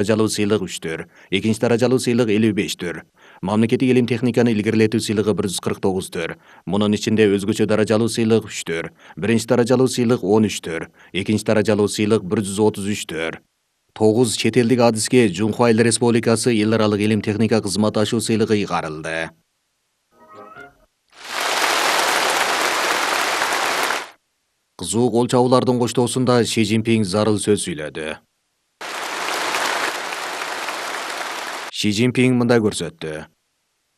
даражалуу сыйлык 3-төр, экинчи даражалуу сыйлык 55-төр. Мамлекеттик илим техниканы илгерилетүү сыйлыгы 149-төр. Мунун ичинде өзгөчө даражалуу сыйлык 3-төр, биринчи даражалуу сыйлык 13-төр, экинчи даражалуу сыйлык 133-төр. 9 чет элдик адиске Жунхва Эл Республикасы эл аралык илим техника кызматташуу сыйлыгы ыйгарылды. Кызуу кол чабуулардын коштоосунда Си Цзиньпин зарыл сөз сүйлөдү. Си Цзиньпин мындай көрсөттү.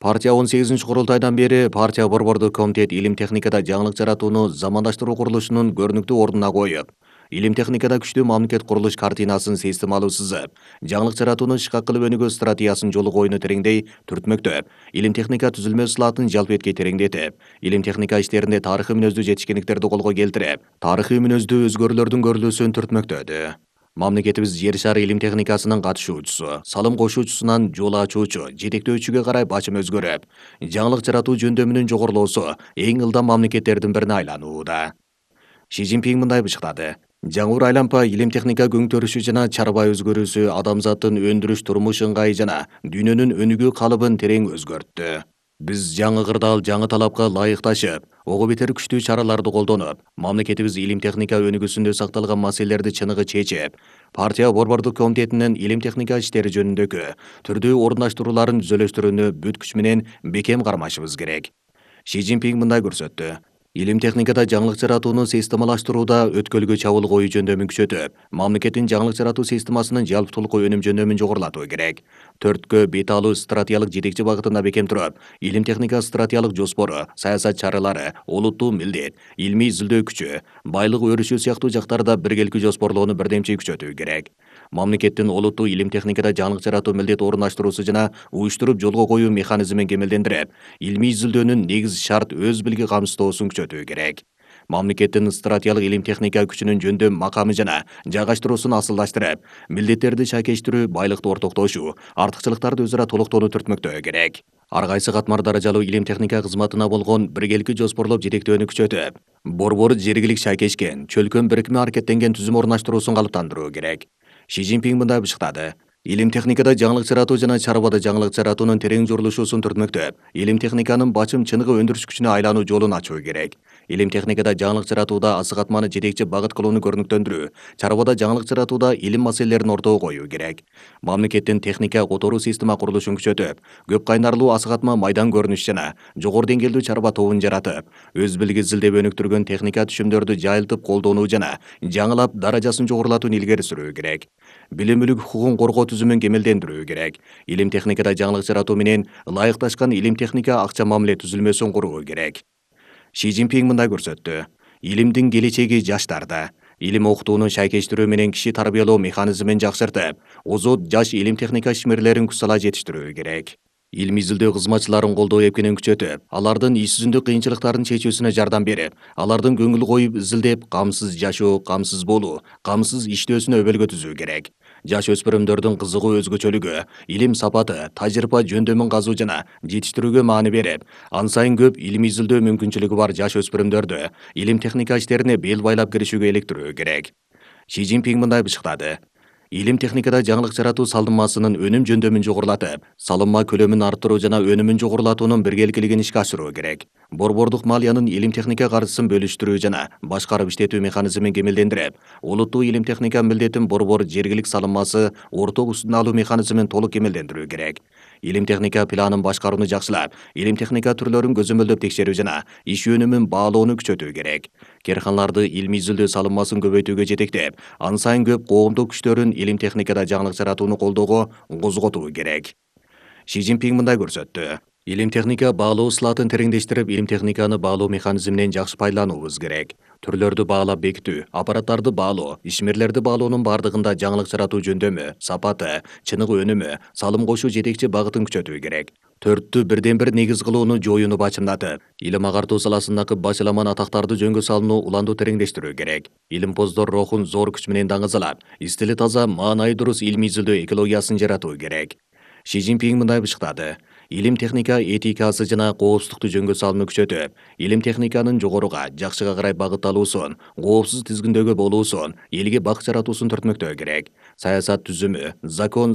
Партия 18-курултайдан бери партия борбордук комитет илим техникада жаңылык жаратууну замандаштыруу курулушунун көрүнүктүү ордуна коюп, илим техникада күчтүү мамлекет курулуш картинасын системалуу сызып, жаңылык жаратууну ишка кылып өнүгүү стратегиясын жолу коюуну тереңдей түртмөктөп, илим техника түзүлмө ысылатын жалпы этке тереңдетип, илим техника иштеринде тарыхый мүнөздүү жетишкендиктерди колго келтирип, тарыхый мүнөздүү өзгөрүүлөрдүн көрүлүүсүн түртмөктөдү. Мамлекетибиз жер шары илим техникасынын катышуучусу, салым кошуучусунан жол ачуучу, жетектөөчүгө карай бачым өзгөрүп, жаңылык жаратуу жөндөмүнүн жогорулоосу эң ылдам мамлекеттердин бирине айланууда. Си Цзиньпин мындай бышкады. Жаңур айлампа илим техника көңтөрүшү жана чарба өзгөрүүсү адамзаттын өндүрүш турмуш ыңгайы жана дүйнөнүн өнүгүү калыбын терең өзгөрттү. Биз жаңы кырдаал жаңы талапка ылайыкташып, ого бетер күчтүү чараларды колдонуп, мамлекетибиз илим техника өнүгүүсүндө сакталган маселелерди чыныгы чечип, партия борбордук комитетинин илим техника иштери жөнүндөгү түрдүү орундаштырууларын түзөлөштүрүүнү бүт күч менен бекем кармашыбыз керек. Си Цзиньпин мындай көрсөттү. Илим техникада жаңылык жаратууну системалаштырууда өткөлгө чабуул коюу жөндөмүн күчөтүп, мамлекеттин жаңылык жаратуу системасынын жалпытуулук өнүм жөндөмүн жогорулатуу керек. 4кө бет алуу стратегиялык жетекчи багытында бекем туруп, илим техника стратегиялык жоспору, саясат чаралары, олуттуу милдет, илмий изилдөө күчү, байлык өрүшүү сыяктуу жактарда биргеликти жоспорлоону бирдемчи күчөтүү керек. Мамлекеттин олуттуу илим техникада жаңылык жаратуу милдет орундаштыруусу жана уюштуруп жолго коюу механизмин кемелдендирип, илмий изилдөөнүн негиз шарт өз билги камсыздоосун күчөтүү керек. Мамлекеттин стратегиялык илим техника күчүнүн жөндөм макамы жана жайгаштыруусун асылдаштырып, милдеттерди шайкештирүү, байлыкты ортоктошуу, артыкчылыктарды өзара толуктоону түртмөктөө керек. Ар кайсы катмар даражалуу илим техника кызматына болгон биргеликти жоспорлоп жетектөөнү күчөтүп, борбор жергилик шайкешкен, чөлкөн бирикме аракеттенген түзүм орунаштыруусун калыптандыруу керек. Си Цзиньпин мындай бышкады. Илим техникада жаңылык жаратуу жана чарбада жаңылык жаратуунун терең журулушуусун түртмөктөп, илим техниканын бачым чыныгы өндүрүш күчүнө айлануу жолун ачуу керек. Илим техникада жаңылык жаратууда асы катманы жетекчи багыт кылууну көрүнүктөндүрүү, чарбада жаңылык жаратууда илим маселелерин ортого коюу керек. Мамлекеттин техника которуу система курулушун күчөтүп, көп кайнарлуу асы катма майдан көрүнүш жана жогору деңгээлдүү чарба тобун жаратып, өз билги изилдеп өнүктүргөн техника түшүмдөрдү жайылтып колдонуу жана жаңылап даражасын жогорулатууну илгери сүрүү керек. Билим мүлүк хукукун коргоо түзүмүн кемелдендирүү керек. Илим техникада жаңылык жаратуу менен ылайыкташкан илим техника акча мамиле түзүлмөсүн куруу керек. Си Цзиньпин мындай көрсөттү. Илимдин келечеги жаштарда. Илим окутууну шайкештирүү менен киши тарбиялоо механизмин жакшыртып, озот жаш илим техника ишмерлерин күч сала жетиштирүү керек. Илми изилдөө кызматчыларын колдоо эпкенин күчөтүп, алардын иш жүзүндүк кыйынчылыктарын чечүүсүнө жардам берип, алардын көңүл коюп изилдеп, камсыз жашоо, камсыз болуу, камсыз иштөөсүнө өбөлгө түзүү керек. Жаш өспүрүмдөрдүн кызыгуу өзгөчөлүгү, илим сапаты, тажрыйба жөндөмүн казуу жана жетиштирүүгө маани берип, ан сайын көп илми изилдөө мүмкүнчүлүгү бар жаш өспүрүмдөрдү илим техника иштерине бел байлап киришүүгө иликтирүү керек. Си Цзиньпин мындай бышкады. Илим техникада жаңылык жаратуу салыммасынын өнүм жөндөмүн жогорулатып, салымма көлөмүн арттыруу жана өнүмүн жогорулатуунун биргеликилигин ишке ашыруу керек. Борбордук малиянын илим техника каржысын бөлүштүрүү жана башкарып иштетүү механизмин кемелдендирип, олуттуу илим техника милдетин борбор жергилик салыммасы орток үстүнө алуу механизмин толук кемелдендирүү керек. Илим техника планын башкарууну жакшылап, илим техника түрлөрүн көзөмөлдөп текшерүү жана иш өнүмүн баалоону күчөтүү керек. Керканларды илми изилдөө салыммасын көбөйтүүгө жетектеп, ан сайын көп коомдук күчтөрүн илим техникада жаңылык жаратууну колдоого козготуу керек. Си Цзиньпин мындай көрсөттү. Илим техника баалоо ысылатын тереңдештирип, илим техниканы баалоо механизминен жакшы пайдалануубуз керек. Түрлөрдү баалап бекитүү, аппараттарды баалоо, ишмерлерди баалоонун бардыгында жаңылык жаратуу жөндөмү, сапаты, чыныгы өнүмү, салым кошуу жетекчи багытын күчөтүү керек. 4тү бирден бир негиз кылууну жоюуну бачымдатып, илим агартуу саласындагы бачыламан атактарды жөнгө салууну уланду тереңдештирүү керек. Илимпоздор рухун зор күч менен даңазалап, стили таза, маанайы дурус илми изилдөө экологиясын жаратуу керек. Си Цзиньпин мындай бышкады. илим техника этикасы жана коопсуздукту жөнгө салууну күчөтүп, илим техниканын жогоруга, жакшыга карай багытталуусун, коопсуз тизгиндөгө болуусун, элге бак жаратуусун төртмөктөө керек. Саясат түзүмү, закон